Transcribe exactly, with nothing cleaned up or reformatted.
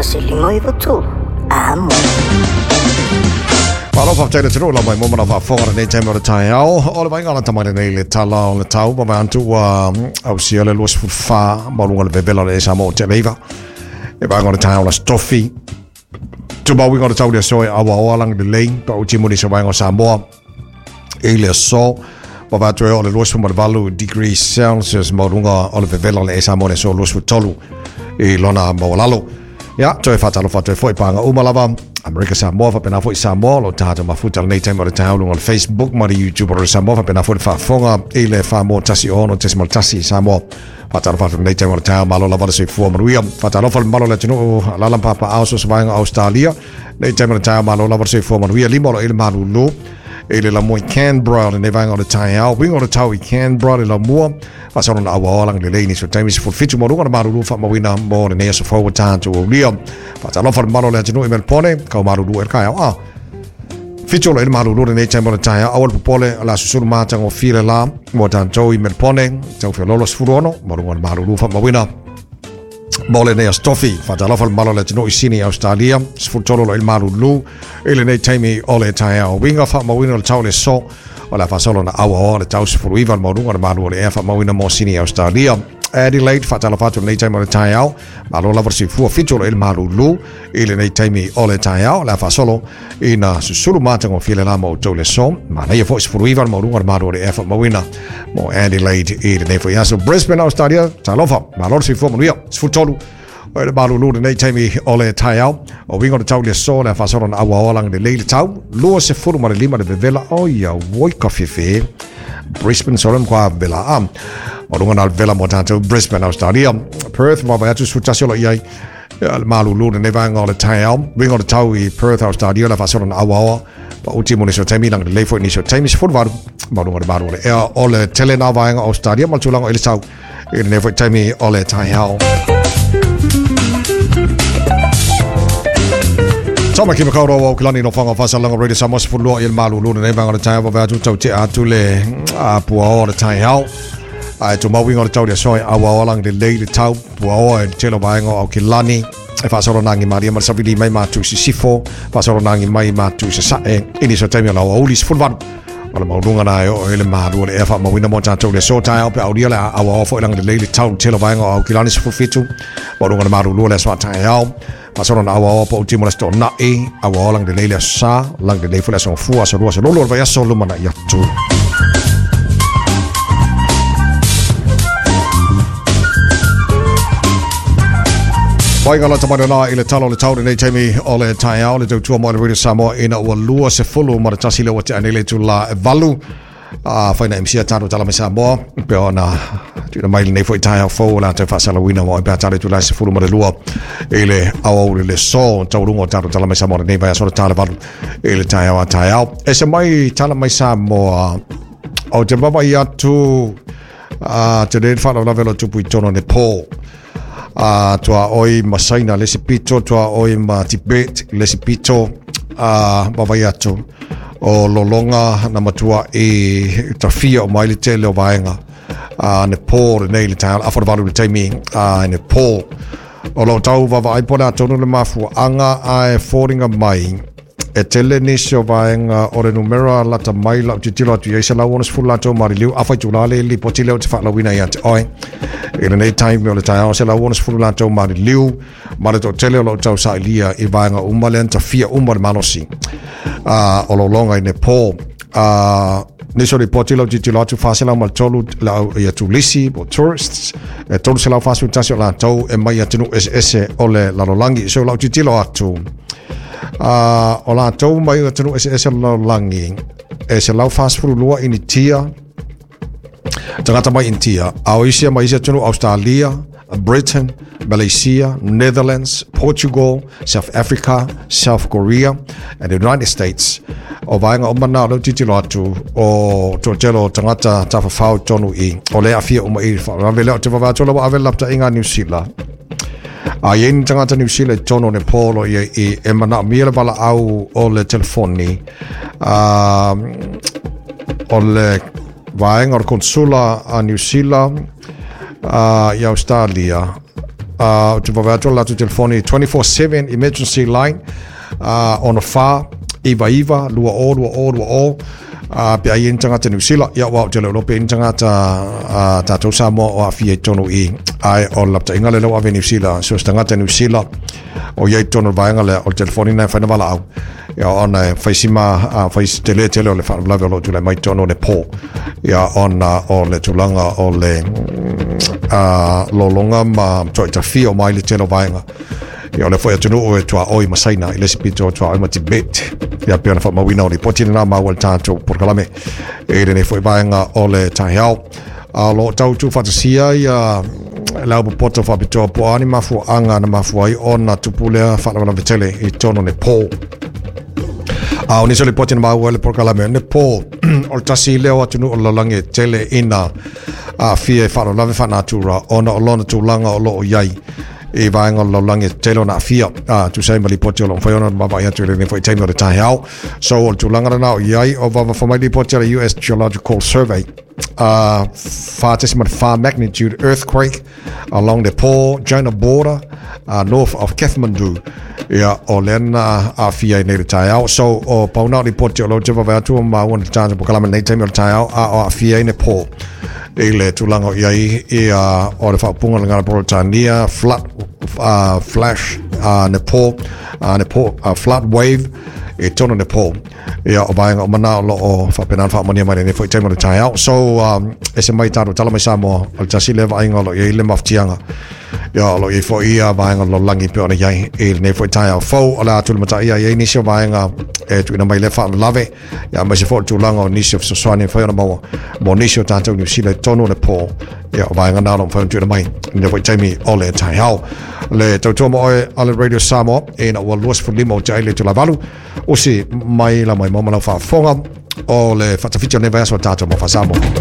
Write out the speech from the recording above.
tasi lima iwa tolu. Amo. Malo whaftaila tino la mai momana whaafonga nei taima o le taeao. O le vainga la tamai nei le tala o le tau. Pa mai antu ua au sia le luas fulfa maulunga le vevela le esa mo te leiva. E vainga o le taeao la stofi. Tumau inga o le tau le soe awa oa lang le lei. Pa uti muni sa vainga o Samoa. E le so. Pa vatu e o le luas fumalvalu degrees Celsius maulunga o le vevela le esa mo le so luas futolu. I lona mawalalo. Ia, toe whatalo whatoe foi pānga umalava. Amerika Samoa, whapena foi Samoa, lo tātou mafuta le nei taima o le taeao lunga o le Facebook ma le YouTube o le Samoa, whapena foi le whaafonga i le whamoa tasi ono tesimal tasi Samoa. Whatalo whatoe nei taima o le taeao malo lava le soifua manuia. Whatalo whale malo le atunuu lalam papa ao so savainga Australia. Nei taima o le taeao malo lava le soifua manuia. Lima o lo ele malulu. I le lamua i Canberra le nei vaenga o le taeao. Winga o le tau i Canberra le lamua. Whasaro na awa olang le leini so taimi sefulu fitu maruga na maruru whaamawina mo le nei aso fau o tātou aulia. Whatalofa le malo le atunuu i Melpone, kau maruru e le kaeao. Ah, fitu o lo ele maruru le nei taimi o le taeao. Awa le popole o la susulu mātanga o file la mo tātou i Melpone. Tau whiololo sefulu ono, maruga na maruru whaamawina. Mo le nei astofi, whatalofa le malo le atunuu i Sydney, Australia, sefulu tolu lo ele maruru i le nei taimi o le taeao. Winga whaamawina o le tau le so, o la whasolo na awa o le tau sefulu iwa le maurunga le malu o le ea whaamawina mo Sydney, Australia. Adelaide, whatalofa atu le nei taimi o le taeao, malo lava le soifua fitu o lo ele malulu i le nei taimi o le taeao. La whasolo i na susulu mātanga o file la mo tau le so, manaia foi sefulu iwa le maurunga le malu o le ea whaamawina mo Adelaide i le nei foi aso. Brisbane, Australia, talofa, malo le soifua manuia, sefulu tolu o le malulu le nei taimi o le taeao. O winga o le tau le so, le whasolo na awa olang le leile tau, lua sefulu ma le lima le vevela, o ia woi ka whiwhi. Brisbane solem kwa vela am. O lunga na vela mo tātou Brisbane, Australia. Perth, mwa atu sutasi o lo iai le malulu le nei vaenga o le taeao. Winga o le tau i Perth, Australia, le whasolo na awa oa. Pa uti mo niso taimi, lang le leifo i niso taimi, sefulu varu. Malunga le malu o le ea o le tele na vaenga Australia, ma le tulaga i le tau i le nei foi taimi o le taeao. Tama ki makauro o kilani no whanga whasalanga Radio Samoa sefulu lua i le malulu le nei vaenga o le taeao. Wawe atu tau te atu le pua o le taeao. Ai tō mauinga o le tau le soe awa olang le lei le tau pua o e telo vaenga o kilani. E whasoro nangi maria ma le sawili mai mātu sisifo. Whasoro nangi mai mātu sasae. Ini so taimi o lau auli sefulu valu. O le maulunga na e o ele malu o le ea whaamawina mo tātou le so taeao pe aulia le awa o foi langa le lei le tau telo vaenga o kilani sefulu fitu. Maulunga le malulu le asoa taeao. Pasoro na awa oa pa utimo le sto na'i, awa oa lang le leile sa, lang le leifo le aso fua, aso lua, aso lolo, o le vai aso lumana i atu. Wainga la tamana la i le talo le tau le nei taimi o le taeao le tautua mo le Radio Samoa ina ua lua se fulu ma le tasi le ua te anele tu la e valu. A whaina M C a tātou tala mai Samoa pe ona tuna mai nei foi taeao fou la te whaasalawina mo e pea tāle tu la se fulu ma le lua i le au le so taurunga o tātou tala mai Samoa nei vai aso le tāle valu i le taeao a taeao. E se mai tala mai Samoa o te wawa i atu a te re whanau lavelo tupu i tono Nepal. A tua oi ma Saina le se pito, tua oi ma Tibet le se pito, a wawa i atu o lolonga na matua i tawhia o mai le tele o vaenga a Nepal le nei le taeao awhara valu le taimi a Nepal. O lo tau wawa ai pona tonu le mafua anga a e fōringa mai e tele nisi o vaenga o le numera lata mai lau titilo atu i eisa lau ono sefulu latou mariliu awhai tūlale li poti leo te whaalawina i ate oi. I le nei taimi o le taeao se lau ono sefulu latou mariliu ma le tō tele o lau tau sailia i vaenga uma le anta fia uma le malosi uh, o lolonga i Nepal. Uh, Niso le poti lau titilo atu whaselau ma le tolu lau ia tulisi po tourists e tolu se lau whasu tasi o latou e mai atunu ese ese o le lalolangi. So lau titilo atu uh, o latou mai atunu ese ese o le lalolangi e se lau whasufuru lua ini tia tangata mai Intia a o isia mai isia atunu Australia, Britain, Malaysia, Netherlands, Portugal, South Africa, South Korea and the United States. O vaenga o mana o leo titilo atu o tōtelo tangata tawhawhau tonu i o le awhia uma i whaarawe leo te wawātola wa awe lapta inga New Zealand. A yen tangata New Zealand tono Nepal o ia i e mana mia le wala au o le telefoni uh, o le vaenga o le konsula a New Zealand uh, i Australia Ou te vaavaai atu le latou telefoni twenty-four seven emergency line ono fa iva iva lua o lua o lua o pe a i ai ni tagata Niu Sila. Ia aua ou te le o iloa pe i ai ni tagata tatou Samoa o aafia i totonu i i, ae o le lapataiga lea ua ave i Niu Sila, so o se tagata Niu Sila o i ai i totonu o le vaega lea, o le telefoni lena e mafai ona valaau ia ona e fai si ma fai si tele tele o le faalavelave o lo o tulai mai i totonu o Nepal ia ona o le tulaga o le lologa ma matuai tafia mai le tele o vaega. Ia o le foi atunuu e tuaoi ma Saina i le isi pito tuaoi ma Tibet. Ia pei ona faamauina o lipoti lena maua i le tatou polokalame i lenei foi vaega o le taeao. A o lo o tau tuufaatasia ia le au popoto faapitoa po o a ni mafuaaga na mafua ai ona tupu lea faalavelave tele i totonu o Nepal. A o nisi o lipoti na maua i le polokalame o Nepal, o le tasi lea o atunuu o le lalolagi e tele ina aafia i faalavelave faanatura ona o lona tulaga o lo o i ai i vaega o le lalolagi e tele ona aafia a tusa ai ma lipoti o lo o mafai ona vaavaai atu i lenei foi taimi o le taeao. So o le tulaga lena o i ai o vavafa mai lipoti a le U S Geological Survey uh, four point four magnitude earthquake along Nepal China border uh, north of Kathmandu. Ia o lea na aafia i nei le taeao. So o pauna o lipoti o lo o te vaavaai atu o maua i le tatou polokalame i lenei taimi o le taeao a o aafia i Nepal i le tulaga o i ai ia o le faaupuga o le gagana Peretania flood uh, flash uh, Nepal uh, Nepal uh, flood wave i totonu o Nepal. Ia o vaega o mana o lo o faapena ona faamanuia mai lenei foi taimi o le taeao. So um, ese mai tatou tala mai Samoa o le tasi lea vaaiga o lo o i ai le mafatiaga. Ia o lo o i ai foi ia vaega o le lalolagi pei ona i ai i lenei foi taeao fou o le a tulimataia i ai nisi o vaega e tuuina mai lea faalavelave. Ia aemaise foi o le tulaga o nisi o fesoasoani e mafai ona maua mo nisi o tatou Niu Sila i totonu o Nepal. Ia o vaega na o lo o mafai ona tuuina mai i lenei foi taimi o le taeao. Le tautua mo oe a le Radio Samoa ina ua luasefululima o te ai le itula valu usi mai la mai mo malau faafofoga o le faatafiti o lenei vaiaso o tatou mo Faa-Samoa.